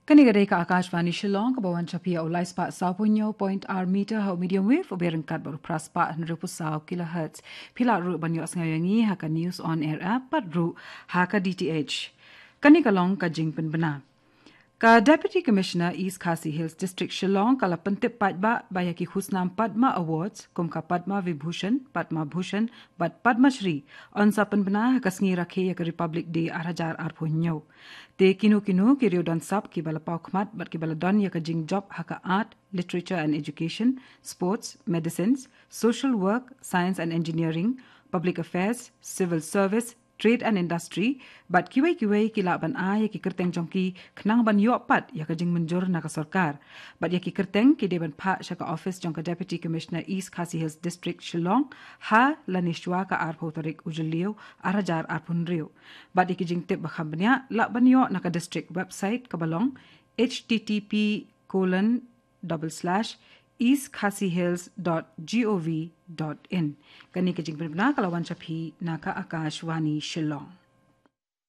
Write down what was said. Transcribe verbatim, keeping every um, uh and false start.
Kane ka dei ka Akashvani Shillong, kaba wan sha phi ha u lai spah saw phew hynñiew point ar meter ha u medium wave, u byrngkat bad u phra spah hynriew phew saw kilohertz. Phi lah ruh ban ïohsngew ïa ngi ha ka News on Air app bad ruh ha ka D T H. Kane ka long ka jingpynbna. Ka Deputy Commissioner East Khasi Hills District Shillong ka la pyntip paidbah ba ïa ki khusnam Padma Awards, kum ka Padma Vibhushan, Padma Bhushan bad Padma Shri, yn sa pynbna ha ka sngi rakhe ïa ka Republic Day ar hajar arphew hynñiew. Te kino kino ki riew don sap kiba la paw khmat bad kiba la don ïa ka jingjop ha ka art, literature and education, sports, medicines, social work, science and engineering, public affairs, civil service, trade and industry, bad kiwei kiwei ki lah ban ai ïa ki kyrteng jong ki khnang ban ïoh pat ïa ka jingmynjur na ka sorkar. Bad ïa ki kyrteng ki dei ban phah sha ka office jong ka Deputy Commissioner East Khasi Hills District Shillong ha lane shwa ka arphew tarik u Jylliew ar hajar arphew hynriew. Bad ïa ki jingtip ba kham bniah lah ban ïoh na ka district website kaba long H T T P colon double slash east khasi hills dot gov dot in. Kane ka jingpynbna ka la wan sha phi na ka Akashvani Shillong.